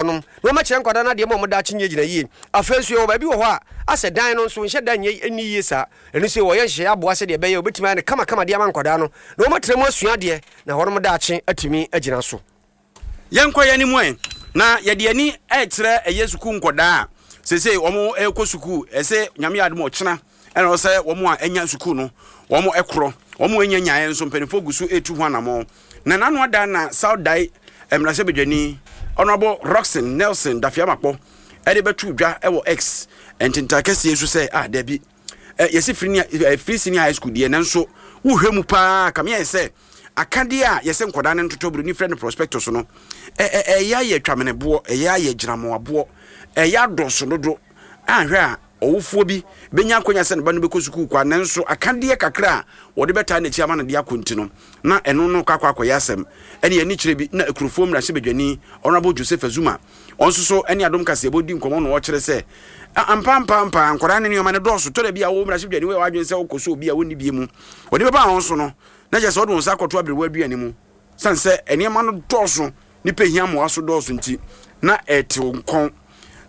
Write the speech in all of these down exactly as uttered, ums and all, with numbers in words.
Nom na wɔakyerɛ nkwadaa no adeɛ ma wɔn daakye nyɛ gyina yie. Afei nso yɛwɔ baabi wɔ hɔ a asɛ dan no nso nhyɛ da nyɛ nni yie saa. Ɛno nso wɔyɛ nhyehyɛeɛ aboa sɛdeɛ ɛbɛyɛ a wɔbɛtumi ayɛ no kamakama de ama nkwadaa no na wɔatena mu asua adeɛ na wɔn daakye atumi agyina so. Yɛnkɔ yɛn anim ɛ, na yɛde yɛn ani rekyerɛ ɛyɛ sukuu nkwadaa a seesei wɔrekɔ sukuu. Ɛsɛ Nyame yɛ adom a ɔkyena ɛna ɛwɔ sɛ wɔn a anya sukuu no wɔn korɔ. Wɔn a anya nyaeɛ nso mpanimfoɔ gu so retu ho anammɔn. Na n'ano ada na South Dayi mmarahyɛbadwani Honourable Rockson Nelson Dafeamakpɔ de bɛto dwa wɔ X ntentan kɛseɛ so sɛ, ah, dabi, yɛsi firi free senior high school deɛ, nanso wohwɛ mu paa kame ayɛ sɛ akadeɛ a yɛsɛ nkwadaa no ntotɔ buroni frɛ no prospectus no, ɛyɛ ayɛ twameneboɔ, ɛyɛ ayɛ gyinamoaboɔ, ɛyɛ adɔso dodo. Anhwɛ a ɔwofoɔ bi bɛnya akwanya sɛ ne ba no bɛkɔ sukuu kwa, nanso akadeɛ kakra a wɔde bɛtaa n'akyi ama no de akɔ nti no, na ɛno no kɔ akɔ akɔyɛ asɛm. Ɛne ani kyerɛ bi na Akurofoɔ mmarahyɛbadwani Honourable Joseph Azuma, ɔno nso so ne Adom Kaseɛbɔ di nkɔmmɔ na ɔkyerɛ sɛ, ampa ampa ampa nkwadaa ne nneɛma no dɔɔso. Tɔ da bi a wo mmarahyɛbadwani woyɛ w'adwene sɛ wokɔ so obi a wɔnni bie mu, wɔde bɛba wɔn so no, na kyerɛ sɛ wɔde wɔn nsa akɔto aberewa aduane mu. Sane sɛ nneɛma no dɔɔso, nnipa hia mmoa so dɔɔso nti, na ɛtew nkɔn.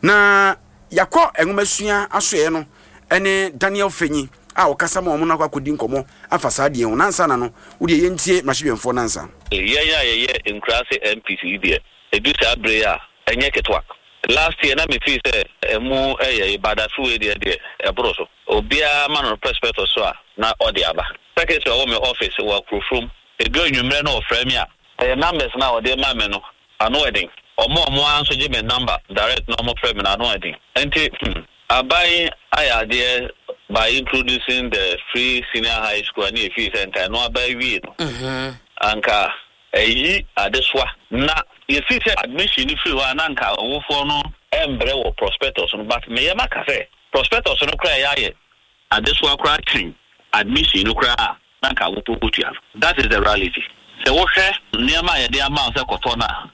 Na yɛakɔ nwomasua asoɛeɛ no ne Daniel Fenyi a ɔkasa ma wɔn no akɔ akɔdi nkɔmmɔ afa saa adeɛ ho. Na ansa na no, wodeɛ yɛntie mmarahyɛbadwamfoɔ no ansa. Yɛn a yɛyɛ nkuraase M Ps yi deɛ, ɛdu saa berɛ yi a, ɛnyɛ ketewa. Last year na me feel sɛ ɛmu ɛyɛ yi, but afe wei deɛ deɛ ɛboro so. Obiara ma no prospectus so a na ɔde aba. Secretary a ɔwɔ me office wɔ Akurofurom, ɛdu anwummerɛ na ɔfrɛ me a, ɛyɛ numbers no a ɔde ma me no ano ɛden. Ɔmo a ɔmo ara nso gye me number direct na ɔmo frɛ me no ano ɛden. Nti hmm, aban ayɛ adeɛ by introducing the free senior high school a ne yɛfii sɛ nka ɛno aba awie no, anka ɛyi adesoa. Na yɛfii sɛ admission no firi hɔ a, na nka ɔwofoɔ no ɛmbrɛ wɔ prospectus no, but meyɛ maka sɛ prospectus no koraa ɛyɛ ayɛ adesoa koraa kyɛn admission no koraa a na nka awofoɔ kɔtua no. That is the reality. Sɛ wohwɛ nneɛma a yɛde ama wo sɛ kɔtɔ no a,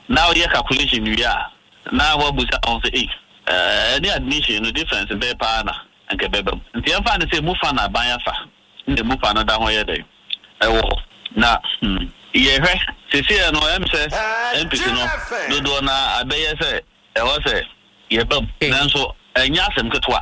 na woyɛ calculation wie a, na woabusa ho sɛ, ei, ɛne admission no difference bɛɛ paa na nka ɛbɛba mu. Nti yɛmfa no sɛ mu fa na aban afa na emu fa no da ho yɛ dɛn ɛwɔ hɔ na hmm, yɛhwɛ seesei no ɛm sɛ M Ps no dodoɔ na abɛyɛ sɛ ɛwɔ sɛ yɛba mu, nanso ɛnyɛ asɛm ketewa.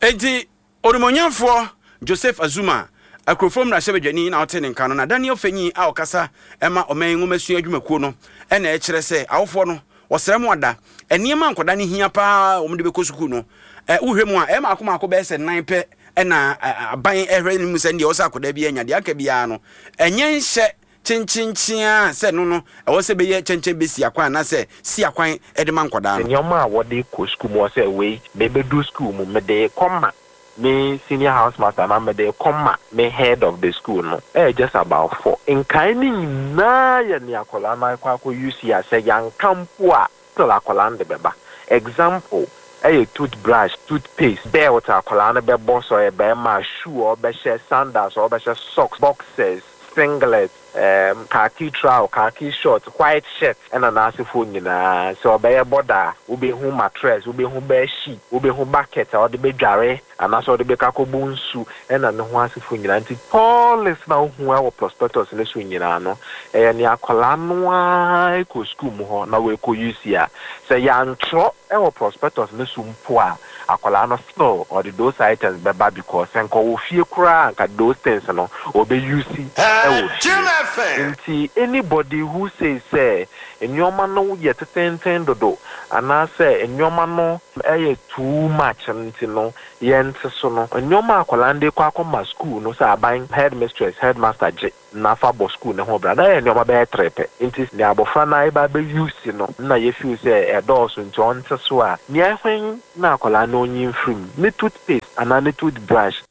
Enti onimonyamfoɔ Joseph Azuma, Akurofoɔ mmarahyɛbadwani, na ɔte ne nka no. Na Daniel Fenyi a ɔkasa ɛma ɔman nwomasua adwumakuo no ɛna ɛkyerɛ sɛ awofoɔ no wɔsrɛ mo ada nneɛma nkɔda no hia paa wɔn de bɛkɔ sukuu no, ɛ wohwɛ mu a, ɛyɛ maako maako bɛyɛ sɛ nan pɛ ɛna aban ɛhwɛ ne mu sɛ deɛ ɔsɛ akɔda bi anya deɛ aka biara no, ɛnyɛ nhyɛ kyenkyenkyen a sɛ no no ɛwɔ sɛ bɛyɛ kyɛnkyɛn bɛsi akwan anaasɛ si akwan ɛde ma nkɔdaa no. Nneɛma a wɔde kɔ sukuu mu wɔ sɛ wei mebɛdu sukuu mu, mede kɔma me senior house master na mede kɔma me head of the school no, ɛyɛ just about four. Nkae ne nyinaa yɛ nea akwadaa no akɔ akɔ use a sɛ yanka mpo a, still akwadaa no de bɛba. Example ɛyɛ toothbrush, toothpaste, belt a akwadaa no bɛbɔ sɛ ɔyɛ bɛrima, shoe a ɔbɛhyɛ, sandals a ɔbɛhyɛ, socks, boxers, singlet, um, khaki trousers, khaki short, white shirt, ɛna n'asefoɔ nyinaa. Sɛ ɔbɛyɛ boarder a, wobɛhu mattress, wobɛhu bed sheet, wobɛhu bucket a ɔde bɛdware anaasɛ ɔde bɛka akɔbu nsu, ɛna ne ho asefoɔ nyinaa. Nti all list na wohu ɛwɔ prospectus ne so nyinaa no, ɛyɛ nea akwadaa no ara kɔ school mu hɔ na wɔakɔ use a sɛ yɛantwerɛ ɛwɔ prospectus ne so mpo a, akwadaa no still ɔde those items bɛba, because sɛ nka ɔwɔ fie koraa, nka those things no ɔbɛ use ɛwɔ fie. Nti anybody who says sɛ nneɛma no yɛ tetenten dodo anaasɛ nneɛma no ɛyɛ too much nti no yɛnte so no, nneɛma akwadaa no de kɔ akɔma school no sɛ aban, headmistress, headmaster gye nafa bɔ school ne ho bra na yɛ nneɛma bɛyɛ tere pɛ. Nti nea abɔfra no ayɛ bɛ use no na yɛ feel sɛ ɛdɔɔso nti ɔnte so a, nea ɛhwɛn na akwadaa no onyi mfirim ne toothpaste anaa ne toothbrush.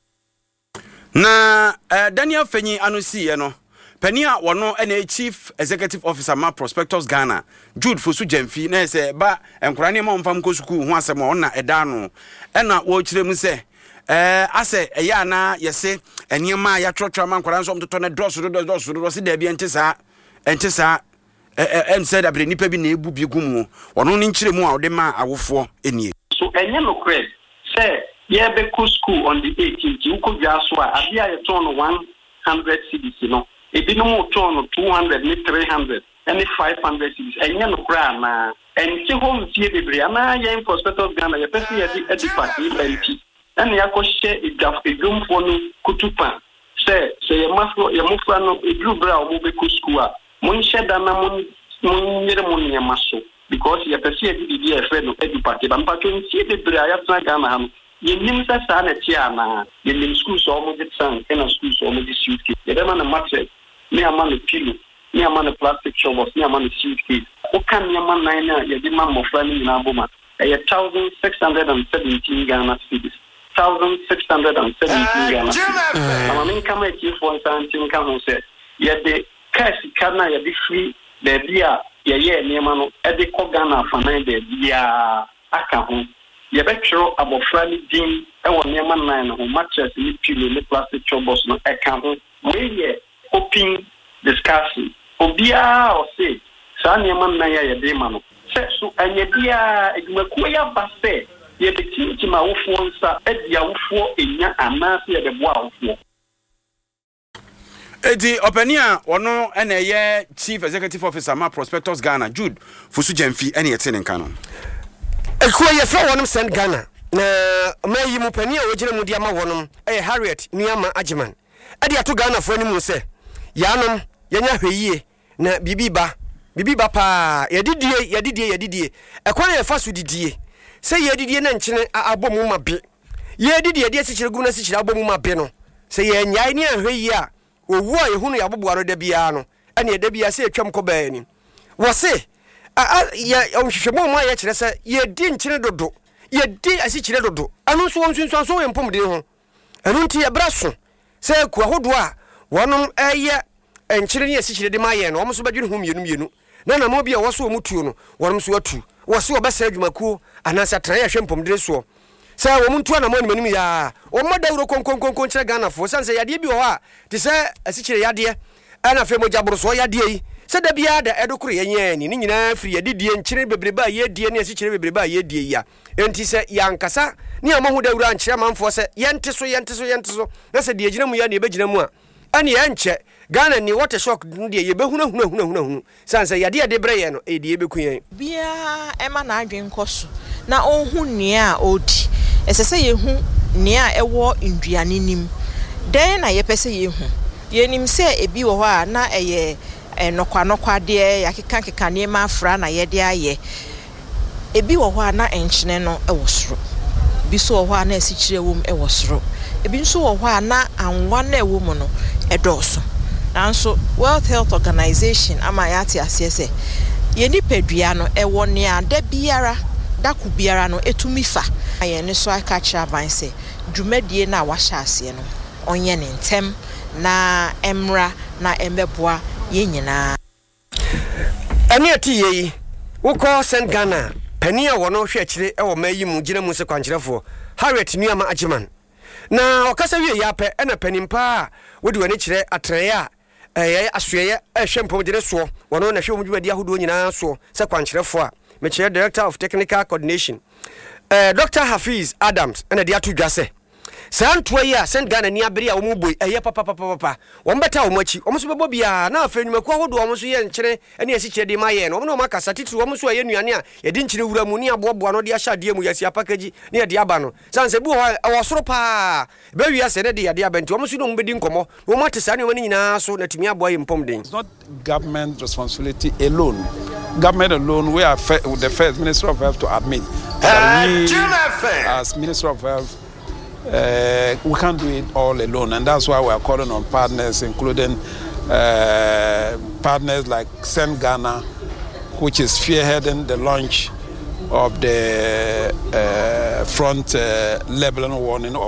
Na uh, Daniel Fenyi ano siiɛ no, panin a wɔno ɛna chief executive officer ma Prospectus Ghana, Jude Fosu Gyamfi, na yɛ sɛ ba nkwadaa nneɛma a wɔmfa nkɔ sukuu ho asɛm a ɔna ɛda ano, ɛna wɔrekyerɛ mu sɛ ɛɛ asɛ ɛyɛ anaa yɛse nneɛma a yɛatwerɛtwerɛ ama nkwadaa nso ɔmtotɔ no dɔɔso dodo, dɔɔso dodo. Ɔse daabi, ɛnte saa, ɛnte saa. ɛɛ ɛm sɛ dabere nipa bi na ebu bi gu mu. Ɔno ne nkyerɛ mu a ɔde ma awofoɔ nie. So ɛnyɛ nokorɛ sɛ yɛbɛkɔ school on the eighteenth, wokɔ dwa so a, adeɛ a yɛtɔn no one hundred cedis no, ebinom tɔn no two hundred ne three hundred. ne five hundred cedis. Ɛnyɛ nokorɛ anaa? Ɛnte hɔ mfie bebree anaa yɛn Prospectus Ghana yɛpɛ sɛ yɛde Edupac yi ba nti ɛna yɛakɔhyɛ edwa edwomfoɔ no kutupa sɛ sɛ yɛn mmafo yɛn mmofra no eduru berɛ a wɔbɛkɔ sukuu a monhyɛ da na mon monyere mo nneɛma so because yɛpɛ sɛ yɛde biribi a yɛfrɛ no Edupac ba mpatwɔ mfie bebree a yɛatena Ghana ha no yɛnim sɛ saa na ɛteɛ anaa yɛnim sukuu sɛ wɔde trunk ɛna sukuu sɛ wɔde suitcase yɛbɛma no mattress ne ama no pillow ne ama no plastic shovels ne ama no suitcase woka nneɛma nan no a yɛde ma mmɔfra no nyinaa bɔ ma ɛyɛ thousand six hundred and seventeen Ghana cedis thousand six hundred and seventeen Ghana cedis na maame nkama atiefoɔ nsa nti nka ho sɛ yɛde kaa sika no a yɛde firi baabi a yɛyɛɛ nneɛma no ɛde kɔ Ghana afanan baabiara aka ho yɛbɛtwerɛ abɔfra no din ɛwɔ nneɛma nan no ho mattress ne pillow ne plastic shovels no ɛka ho wei yɛ open discussion obiara a ɔse saa nneɛma nnan a yɛde ma no sɛ so ɛnyɛ biara adwumakuo yi aba sɛ yɛbɛkyinkyim awofoɔ nsa adi awofoɔ enya anaasɛ yɛbɛboa awofoɔ eti ɔpanin a ɔno ɛna ɛyɛ chief executive officer ma prospectus ghana jude fosu gyamfi ɛna yɛte ne nka no ekuo yɛfrɛ wɔnom send ghana na ɔman yi mu panin a wɔgyina mu de ama wɔnom ɛyɛ harriet nuama agyeman ɛde ato ghanafoɔ anim sɛ yɛanom yɛnya hwɛ yie na biribi ba biribi ba paa yɛdidie yɛdidie yɛdidie ɛkwan a yɛfa so didie sɛ yɛdidie na nkyene a- abɔ mu ma be yɛdidi yɛde asikyire gu na asikyire abɔ mu ma be no sɛ yɛnyae ne anhwɛ yie a owu a yɛhu no yɛaboboa no da biara no ɛne ɛda biara sɛ yɛtwam kɔ baa anim wɔ se a- a- yɛ nhwehwɛmu mu a yɛkyerɛ sɛ yɛdi nkyene dodo yɛdi asikyire dodo ɛno nso wɔ nsunsuanso wɔ yɛn mpɔmuden ho ɛno nti yɛbrɛ so sɛ kuo ahodoɔ a wɔnom ɛyɛ nkyene ne asikyire de ma yɛn no wɔn nso bɛdwene ho mmienu mmienu na namɔ bi a ɛwɔ so wɔn tuo no wɔnom nso atu wɔ se wɔbɛsɛ adwumakuo anaasɛ atenaeɛ a ɛhwɛ mpɔmuden soɔ sɛ wɔn ntu anamɔ anim anim yaa wɔn mmɔ dawuro konkonkonko nkyerɛ ghanafoɔ sane sɛ yadeɛ bi wɔ hɔ a te sɛ asikyire yadeɛ ɛna afei mogya borosoɔ yadeɛ yi sɛ da biara da ɛdo koro yɛn yɛn ani ne nyinaa firi yɛdidie nkyene bebrebe a yɛdie ne asikyire bebrebe a yɛdie yi a enti sɛ yɛankasa ne yɛmmɔ ho dawuro ankyerɛ amanfoɔ sɛ yɛnte so yɛnte so yɛnte so na sɛ deɛ gyina mu yɛ ne yɛbɛgyina mu a ɛne yɛnkyɛ ghana ni wɔte shock no deɛ yɛbɛhunahunahunahunu sane sɛ yadeɛ yɛde brɛ yɛn no ɛyɛ deɛ yɛbɛku yɛn biara ɛma n'adwene nkɔ so na ɔnhu nea a ɔredi ɛsɛ sɛ yɛhu nea a ɛwɔ nduane nim dɛn na yɛpɛ sɛ yɛhu yɛnim sɛ ebi wɔ hɔ a na ɛyɛ nnɔkwanɔkwadeɛ yɛakekakeka nneɛma afra na yɛde ayɛ ebi wɔ hɔ a na nkyene no wɔ soro ebi nso wɔ hɔ a na asikyire wɔ mu wɔ soro ebi nso wɔ hɔ a na anwa no a ɛwɔ mu no ɛdɔɔso nanso world health organization ama yɛate aseɛ sɛ yɛn nipadua no ɛwɔ nea da biara dako biara no etumi fa yɛn nso aka kyerɛ aban sɛ dwumadie no a wahyɛ aseɛ no ɔnyɛ ne ntɛm na ɛmmra na ɛmmɛboa yɛn nyinaa ɛne ɛte yie yi wokɔ send ghana panin a wɔno hwɛ akyire ɛwɔ ma yi mu gyina mu sɛ kwankyerɛfoɔ harriet nuama agyeman na ɔkasa wie yɛ apɛ ɛna panin paa a wode w'ani kyerɛ atenaeɛ a ɛyɛ asoɛyɛ ɛhwɛ mpɔmgyene soɔ wɔno na hwɛ wɔn dwumadi ahodoɔ nyinaa soɔ sɛ kwankyerɛfoɔ a mekyerɛ director of technical coordination eh, dr hafiz adams ɛna de ato dwa sɛ saa ntoa yi a send ghana ni abere a wɔn bɔ yi ɛyɛ papapapapa wɔn bɛta wɔn akyi wɔn nso bɛbɔ biara na afei nnwumakuo ahodoɔ wɔn nso yɛ nkyene ne asikyire de ma yɛn no wɔn ne wɔn akasa titiri wɔn nso a ɛyɛ nnuane a yɛde nkyene wura mu ne aboaboa no de ahyɛ adeɛ mu yɛsi apakagyi ne yɛde aba no san sɛ bi wɔ hɔ a ɛwɔ soro paa bɛwi asɛ ne de yɛde aba nti wɔn nso ne wɔn bɛdi nkɔmmɔ na wɔn ate saa nneɛma no nyinaa so na tumi aboa yɛn mpɔmden It's not government responsibility alone. Government alone, we are the first Ministry of Health to admit that we, as Ministry of Health, uh, we can't do it all alone, and that's why we are calling on partners, including uh, partners like Send Ghana, which is spearheading the launch of the uh, front uh, labeling warning of